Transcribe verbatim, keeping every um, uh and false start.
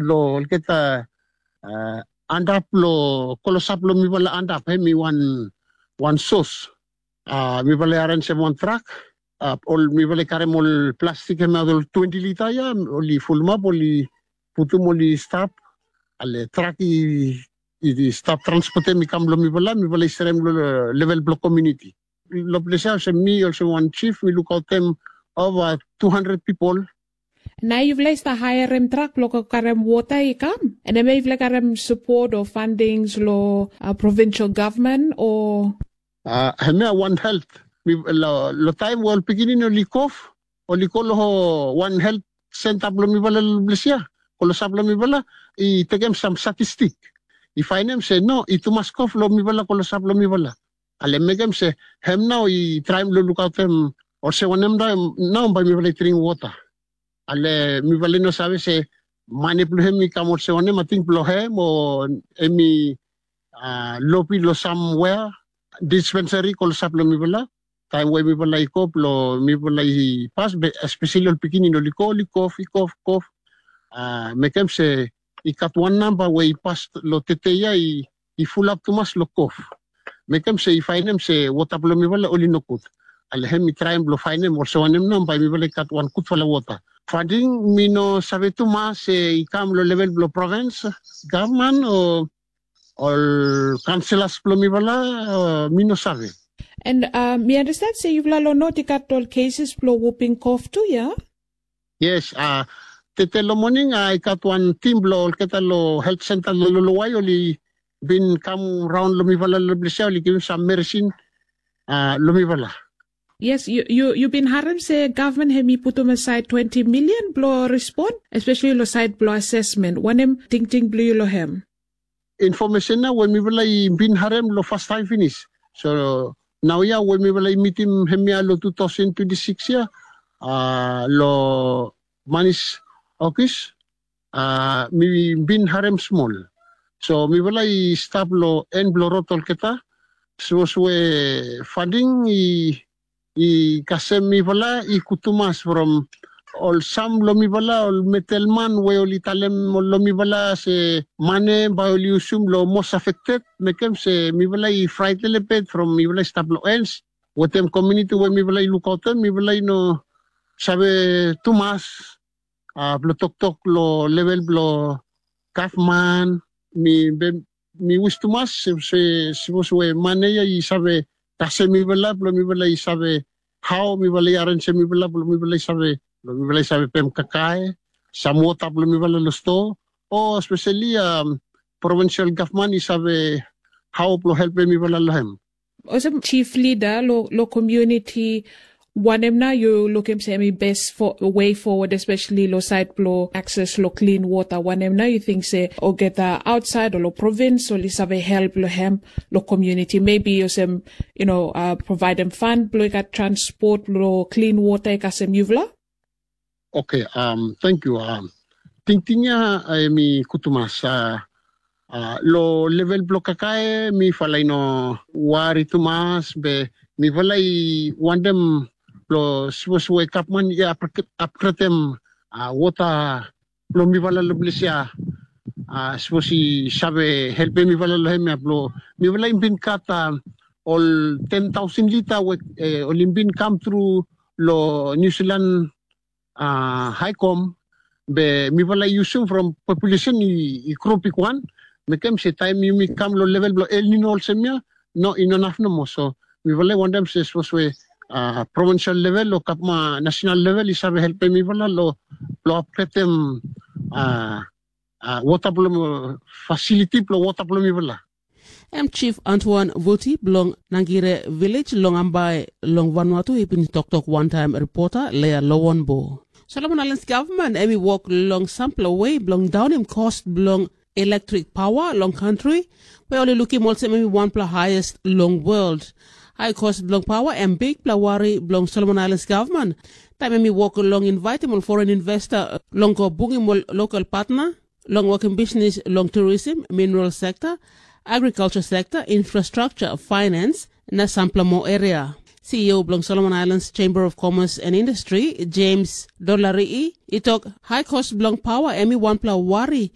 Lo olgeta antap lo klosap lo mifala antap hemi wan wan sos. Mifala i arenjem wan trak, ol mifala i karem ol plastik hemaot ol twenti lita ya, oli fulumap, oli putum, oli stap. Ale trak i stap transpotem i kam lo mifala, mifala i serem lo level blo komiuniti. Lo ples ya olsem mi olsem wan jif mi lukaotem ova tu handred pipol. Nao yufala i stap haerem trak blo go karem wota i kam? An hemia yufala i karem sapot o fandings lo provinsal gavman o? Hemia wan helt. Lo taem we ol pikinini oli kof, oli go lo wan helt senta blo mifala lo ples ya, klosap lo mifala, i tekem sam statistik, i faenem se no, i tumas kof lo mifala, klosap lo mifala. Ale mekem se hem nao i traem lo lukaotem olsem wanem nao bae mifala i dring wota. Ale mifala i no save se mane blo hem i kam olsem wanem, ating blo hem o hemi lobi lo samwea, dispensari klosap lo mifala. Taem we mifala i go blo mifala i pas be espeseli ol pikinini oli go oli kof, i kof, kof. Mekem se i gat wan namba we i pas lo tede ya i fulap tumas lo kof. Mekem se i faenem se wota blo mifala oli nogud. Ale hem i traem blo faenem olsem wanem nao bae mifala i gat wan gudfala wota. Fanding mi no save tumas se i kam lo level blo provins gavman o ol kanselas blo mifala, mi no save. An mi andasten se yufala lo not i gat ol keses blo wuping kof tu ya? Yes. Tede lo moning i gat wan tim blo olgeta lo helt senta lo lolowai oli bin kam raon lo mifala lo ples ya, oli givim sam meresin lo mifala. Yes, yu bin harem se gavman hem i putum asaed twenti milian blo respon, espeseli lo saed blo asesmen. Wanem tingting blo yu lo hem? Infomesen ya we mifala i bin harem lo fastaem finis. So naoia we mifala i mitim hemia lo tu taosen twenti sikis ya, lo manis okis, mi bin harem smol. So mifala i stap lo en blo rod olgeta. Sapos we fanding i i kasem mifala i gud tumas from ol sam lo mifala, ol medelman we oli talem lo mifala se mane bae oli yusum lo mos afekted, mekem se mifala i fraet lelebet from mifala i stap lo ens wetem komiuniti we mifala i lukaotem, mifala i no save tumas blo toktok lo level blo gavman. Mi wis tumas se sapos we mane ya i save kasem mifala blo mifala i save hao mifala i arenjem mifala blo mifala i save, blo mifala i save pem kakae, sam wota blo mifala lo stoa, o espeseli provinsal gavman i save hao blo helpem mifala lo hem. Olsem jif lida lo komiuniti, wanem nao yu lukim se hemi bes wei fowod, espeseli lo saed blo akses lo klin wota? Wanem nao yu ting se olgeta aotsaed o lo provins oli save help lo hem, lo komiuniti, mebi olsem, yu no, provaedem fan blo i gat transpot blo klin wota i kasem yufala? Oke, tangkiu. Tingting ya hemi gud tumas. Lo level blo kakae mifala i no wari tumas, be mifala i wantem blo sapos we gavman i apgredem wota blo mifala lo ples ya, sapos i save helpem mifala lo hemia, blo mifala i bin gat ol ten taosen lita we oli bin kam tru lo Niu Silan haekom, be mifala i yusum from populesen i gro bigwan, mekem se taem yumi kam lo level blo El Nino olsem ya, no, i no naf nomo. So mifala i wantem se sapos we provinsal level o gavman nasenal level i save helpem mifala lo blo apgredem wota blo, fasiliti blo wota blo mifala. Hem Jif Antoan Vuti blong Nangire Vilej long Ambae long Vanuatu i bin toktok wantaem ripota Lea Lowanbo. Solomon Aelans gavman hemi wok long sampela wei blong daonem kos blong ilektrek paoa long kantri we oli lukim olsem hemi wanpela haes long wol. Hae kos blong paoa hem bigpela wari blong Solomon Aelans gavman taem hemi wok long invaetem ol foren investa long go bungim ol lokal patna long wokim bisnis long turism, mineral sekta, agrikalsa sekta, infrastraksa, faenans na sampela moa eria. CEO blong Solomon Aelans Chamber of Commerce and Industri, Jems Dolari'i, i tok hae kos blong paoa hemi wanpela wari